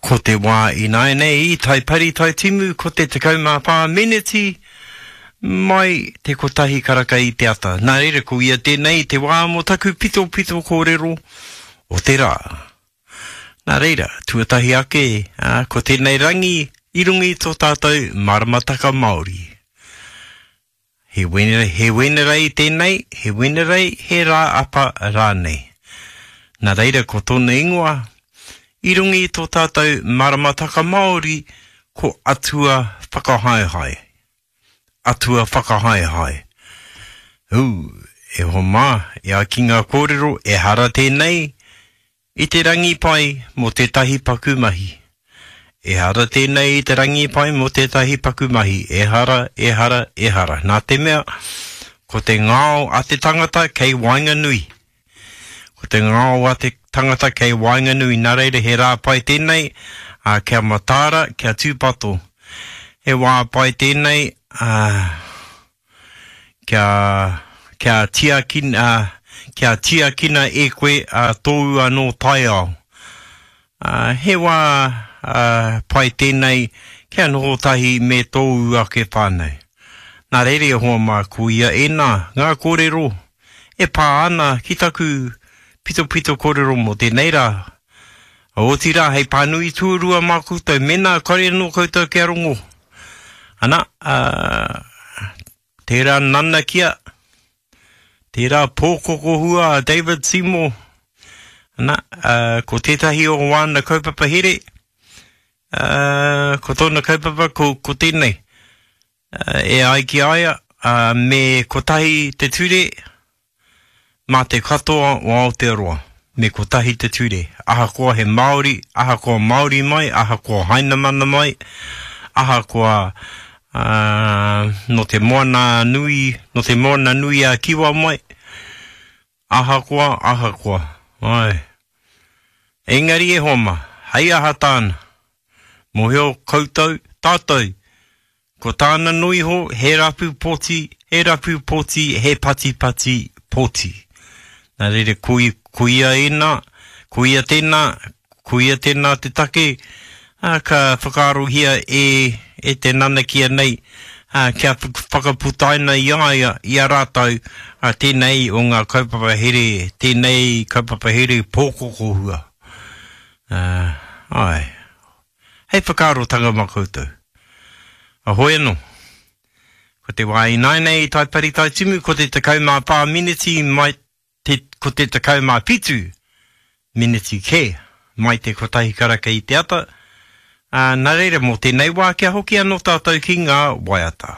Ko te wā ināianei i Taipari Taitimu ko te 14 meneti mai te kotahi karaka i te ata. Nā reira ko ia tēnei te wā mō taku pitopito kōrero o te rā. Nā reira, tuatahi ake, ā, ko tēnei rangi i runga i tō tātou maramataka Māori. He Wenerei, he Wenerei tēnei, he Wenerei, he rā apa rānei. Nā reira ko tōna ingoa, i runga i tō tātou maramataka Māori, ko Atua Whakahaehae. Atua Whakahaehae. Ū, e hoa mā, e ai ki ngā kōrero, ehara tēnei I te rangi pai mō tētahi paku mahi. Ehara tēnei i te rangi pai mō tētahi paku mahi, ehara, ehara, ehara. Nā te mea, ko te ngao a te tangata kei waenganui. Ko te ngao a te tangata kei waenganui, nā reira he rā pai tēnei, ā, kia mataara, kia tūpato. He wā pai tēnei, ā, kia, kia tiakina, kia tiakina e koe a tōu anō taiao. Ā, he wā ā, pai tēnei kia noho tahi me tōu ake whānau. Nā reira e hoa mā, ko ia ēnā ngā kōrero e pā ana ki taku pitopito kōrero mō tēnei rā. Otirā, hei pānui tuarua mā koutou, mēnā kare anō koutou kia rongo. Ana, ā, tērā nanakia, tērā pōkokohua a David Seymour, ana, ā, ko tētahi o wāna kaupapa here, ā, ko tōna kaupapa ko, ko tēnei. E ai ki a ia, me kotahi te ture mā te katoa o Aotearoa, me kotahi te ture, ahakoa he Māori, ahakoa Māori mai, ahakoa Hainamana mai, ahakoa nō te moana nui, nō te moana nui a Kiwa mai, ahakoa, ahakoa, āe. Engari e hoa mā, hei aha tāna? Mōhio koutou, tātou, ko tāna noa iho he rapu poti, he rapu poti, he patipati poti. Nā reira, ko, ko ia ēnā, ko ia tēnā, ko ia tēnā te take, ā, ka whakaarohia e, e te nanakia nei, ā, kia whakaputaina i a ia, i a rātou, ā, tēnei o ngā kaupapa here, tēnei kaupapa here pōkokohua. Ā, āe. Hei whakaarotanga mā koutou. Ahoi anō. Ko te wā ināianei i Taipari Taitimu, ko te 14 miniti mai te, ko te 17 miniti kē mai te kotahi karaka i te ata. Ā, nā reira mō tēnei wā kia hoki anō tātou ki ngā waiata.